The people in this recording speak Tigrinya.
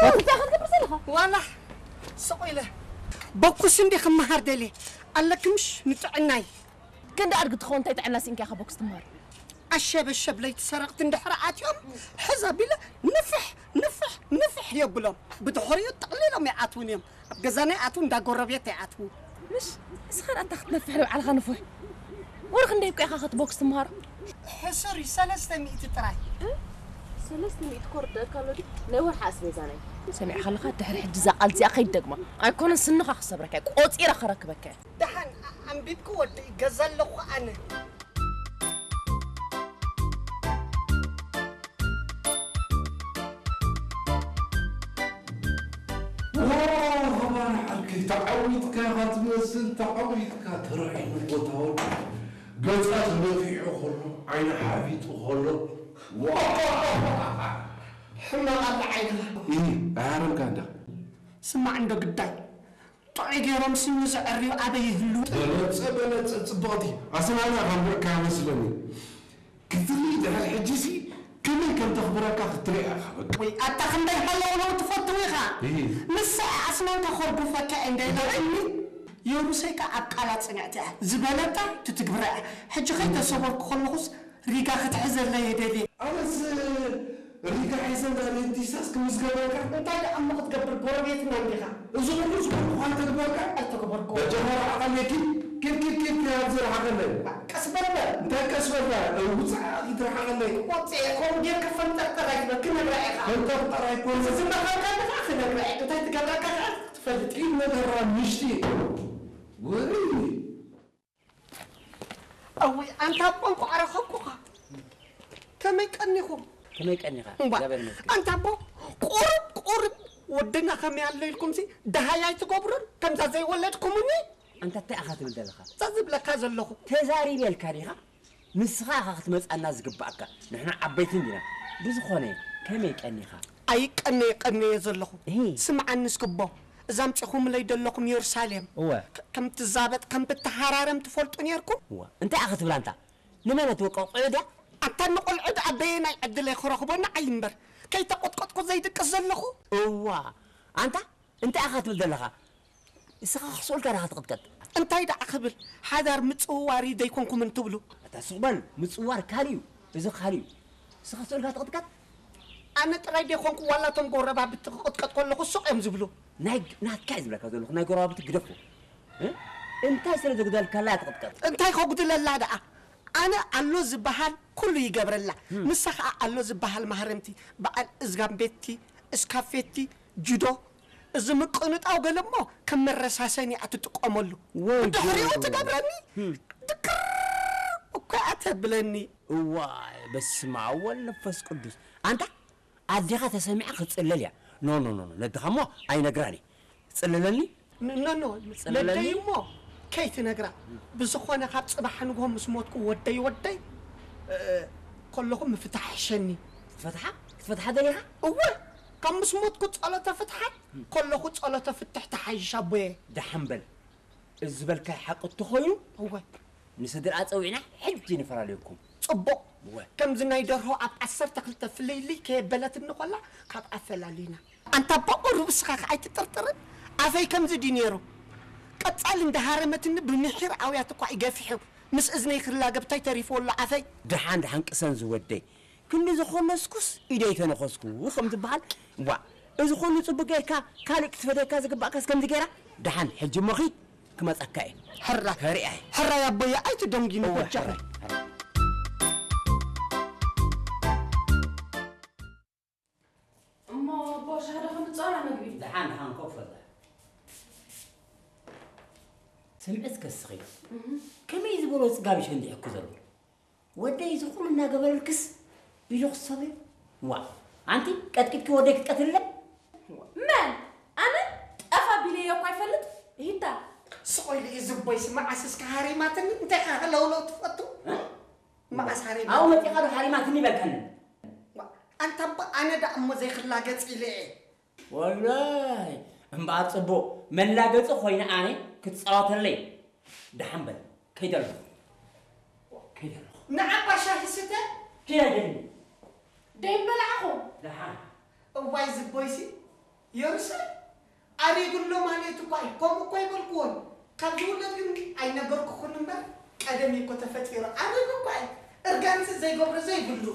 እንታይ ክትገብር ዘለኻ? ዋላ ስቕ ኢለ ቦኩስ እንዲ ክመሃር ደልየ ኣለኪ ምሽ ንጥዕናይ። ክንዲ ኣድጊ ትኸውን እንታይ ጥዕና ስኢንካ ኢኻ ቦክስ ትመሃር? ኣሸበሸብ ለይቲ ሰረቕቲ እንድሕር ኣትዮም ሕዝ ኣቢለ ንፍሕ ንፍሕ ንፍሕ የብሎም። ብድሕሪኡ ጠቕሊሎም ይኣትዉን እዮም። ኣብ ገዛና ይኣትዉ፣ እንዳ ጎረቤት ይኣትዉ። ምሽ ንስኻ ኣታ ክትነፍሕ ንባዕልኻ ንፉሕ። ወርሒ እንደ ይብቃ ኢኻ ክትቦክስ ትምሃሮ? ሕሱር እዩ፣ ሰለስተ ሚእቲ ጥራይ። ሰለስተ ሚእቲ ኮርደካ ኣሎ ድዩ? ናይ ወርሒ ኣስቤዛ ናይ። ሰሚዕካ ኣለኻ? ድሕሪ ሕጂ እዛ ቃል እዚኣ ከይትደግማ። ኣይኮነን ስንኻ ክሰብረካ እየ፣ ቆጺረ ከረክበካ እየ። ደሓን ኣንቢብኪ ወደይ፣ ገዛ ኣለኹ ኣነ። ዋ፣ ኸማን ዓርከይ፣ ተዓዊትካ ኢኻ ትመስል፣ ተዓዊትካ። ተራዒኑ ቦታ ወዲ ገጻ ተደፊዑ ከሎ፣ ዓይኑ ሓፊጡ ከሎ፣ ዋ! ሕማቕ ኣለ ዓይንኻ። እይ፣ ኣይሃረምካ እንዳ። ስማዕ እንዶ ግዳይ፣ ጥዑይ ገይሮም ስሚ ዘዐርዩ ኣበይ ይህሉ? በለጸ፣ በለጸ፣ ጽብቕቲ። ኣስናና ካብ ርዕካ መስለኒ። ክትርኢ ድሕሪ ሕጂሲ ከመይ ከም ተኽብረካ ክትርኢ ኢኻ በቃ። ወይ ኣታ ክንደይ ሃለውለው ትፈትው ኢኻ። እሂ። ንሳ ኣስናንካ ከርጉፈካ እየ እንደ ኢላትኒ፣ የሩሰይ ከኣ ኣብ ቃላ ጽንዕቲ እያ። ዝበለታ ትትግብራ እያ። ሕጂ ከይተሰወርኩ ከለኹስ ሪጋ ክትሕዘለይ እየ ደልየ። ኣነስ ሪጋ ሒዘ እንዳ ደንቲሳስ ክምዝገበልካ። እንታይ ደኣ እሞ ክትገብር ጎረቤትና እንዲኻ። እዚ ኩሉ ዝኮንኩ ካንተ ግበርካ? ኣይተገበርኩ። በጃኻ ረሓቐለይ ኪድ ኪድ ኪድ ኪድ ኪድ ኣብዚ ረሓቐለይ። ቀስ በል በል። እንታይ ቀስ በል በል? ውጻእ ኪድ ረሓቐለይ። ወጽኤ ከምኡ ጌርካ ፈንጠርጠር ኣይትበል ክነግራ ኢኻ። ፈንጠርጠር ኣይኮነን። እዚ ዝመኸርካ ኣለኻ ክነግራ ኢኻ። እንታይ ትገብረካ ከኣ ትፈልጥ ኢኻ። ኪድ ነገራ ምሽቲ። ወሪ። እውይ ኣንታ ኣቦ እንኳዕ ረኸብኩኻ። ከመይ ቀኒኹም? ከመይ ቀኒኻ? እምባ እግዚኣብሔር ይመስገን። ኣንታ ኣቦ ቁሩብ ቁሩብ ወድና ከመይ ኣሎ ኢልኩምሲ ደሃይ ኣይትገብሩን ከምዛ ዘይወለድኩምኒ። ኣንታ እንታይ ኢኻ ትብል ዘለኻ? እዛ ዝብለካ ዘለኹ። ተዛሪበልካ ዲኻ? ንስኻ ኢኻ ክትመጽኣና ዝግብኣካ። ንሕና ዓበይቲ እንዲና። ብዝኾነ ከመይ ቀኒኻ? ኣይቀነየ ቀነየ ዘለኹ። እሂ። ስምዓኒ እስኪ ኣቦ፣ እዛ ኣምጺኹምለይ ደለኹም የሩሳሌም እወ። ከም ትዛበጥ ከም ትተሃራረም ትፈልጡ ኔርኩም? እወ። እንታይ ኢኻ ክትብል ኣንታ? ንመን እትወቅዕ ቆልዑ ድያ? ኣታ ንቆልዑ ደኣ በየናይ ዕድለይ ክረኽቦ ንዓይ እምበር ከይተቖጥቆጥኩ ዘይድቅስ ዘለኹ? እዋ። ኣንታ እንታይ ኢኻ ትብል ዘለኻ? እስኻ ክስኦልካ ዲኻ ትቕጥቀጥ? እንታይ ደኣ ክብል ሓዳር ምጽውዋር እዩ ዘይኮንኩምን ትብሉ? ኣታ ስቕ በል ምጽውዋር ካልእ እዩ እዚ ካልእ እዩ። እስኻ ክስኦልካ ትቕጥቀጥ? ኣነ ጥራይ ድየ ኮንኩ ዋላ እቶም ጎረባብቲ ክቕጥቀጥ ከለኹ ስቕ እዮም ዝብሉ? ናይ ናትካ እየ ዝብለካ ዘለኹ ናይ ጎረባብቲ ግደፎ። እ? እንታይ ስለ ዘጉደልካላ እያ ትቕጥቀጥ? እንታይ ከጉድለላ ደኣ? ኣነ ኣሎ ዝበሃል ኩሉ ይገብረላ። ንሳ ኸኣ ኣሎ ዝበሃል ማህረምቲ፣ በዓል እዝጋም ቤትቲ፣ እስካፌቲ፣ ጁዶ፣ እዚ ምቅንጣው ገለ እሞ ከም መረሳሰኒ እያ ትጥቀመሉ። ብድሕሪኡ ትገብረኒ ድክር እኮ እያ ተብለኒ። እዋይ በስመ ኣብ ወወልድ ወመንፈስ ቅዱስ። ኣንታ ኣዴኻ ተሰሚዓ ክትጽለል እያ። ኖ ኖ ኖ ነድኻ እሞ ኣይነግራን እየ። ትጽለለኒ? ኖ ኖ ነደይ እሞ ከይትነግራ። ብዝኾነ ካብ ጽባሕ ንግሆ ምስ ሞትኩ ወደይ ወደይ ከለኹ ምፍታሕ ይሕሸኒ። ክትፈትሓ? ክትፈትሓ ደሊኻ? እወ ካብ ምስ ሞትኩ ጸሎተ ፍትሓት ከለኹ ጸሎተ ፍትሕ ትሓይሽ ኣቦየ። ደሓን በል። እዚ ዝበልካዮ ሓቂ እንተኾይኑ እወ ንስድርኣ ጸዊዕና ሕጂ ንፈላለየኩም። ጽቡቕ። እወ። ከምዚ ናይ ደርሆ ኣብ ዓሰርተ ክልተ ፍልይልይ ከየበለትኒ ኮላ ካብ ኣፈላልዩና። ኣንታ ኣቦ ቁሩብ እስኻ ከ ኣይትጥርጥርን? ኣፈይ ከምዚ ድዩ ነይሩ? ቀጻሊ እንዳሃረመትኒ ብምሒር ኣውያት እኳ እዩ ገፊሑ ምስ እዝነይ ክላገብ ታይ ተሪፍዎ ኣሎ ኣፈይ? ደሓን ደሓን ቅሰን ዝወደይ። ክንዲ ዝኾነስኩስ ኢደይ ተነኸስኩ ከም ዝበሃል፣ ዋእ፣ እዚ ኹሉ ጽቡቕ ጌርካ ካልእ ክትፈትየካ ዝግባእካስ ከምዚ ጌራ? ደሓን ሕጂ እሞ ኺድ፣ ክመጸካ እየ። ሕራይ፣ ከሪኣ እየ። ሕራይ ኣቦየ ኣይትደንጉይኒ እወ፣ በጃኹም። ሕራይ፣ ሕራይ። እሞ ኣቦ ሻሂ ዶ ከምጽኣላ መግቢ? ደሓን ደሓን ኮፍ በል። ስምዒ እስከ ስኺ። ከመይ ዝበሎ ጽጋብ እዩ ሸንዲሑኪ ዘሎ? ወደይ እዚ ኹሉ እናገበረልክስ ኢሉ ክሰብዮ? ዋእ ኣንቲ ቀጥቂጥኪ ወደይ ክትቀትልለ? መን? ኣነ? ጠፍ ኣቢለዮ እኳ ይፈልጥ? ሂታ። ስቕ ኢሉ እዩ ዝቦይሲ መዓስ እስከ ሃሪማትኒ እንታይ ኢኻ ሃለውለው ትፈቱ? መዓስ ሃሪማትኒ? ኣብኡ መጺኻ ዶ ሃሪማትኒ በልካኒ? ኣንታ እባ ኣነ ደኣ እሞ ዘይክላገጽ ኢለ እየ። ወላሂ እምበኣር ጽቡቕ መላገጺ ኮይነ ኣነ ክትጻወተለይ። ደሓን በል ከይደ ኣለኹ ከይደ ኣለኹ። ንዓ እባ ሻሂ ስተ። ኪድ ኣይደሊ። ደይምበላዕኹ። ደሓን። እዋይ ዝቦይሲ የሩሳሌም ኣሪጉ ኣሎ ማለት እኳ እዩ። ከምኡ እኳ ይበልክዎን። ካብ ዝውለድ ግን ኣይነገርኩኹን እምበር፣ ቀደም እኮ ተፈጢሩ ኣሪጉ እኳ እዩ። እርጋንሲ ዘይገብሮ ዘይብሉ።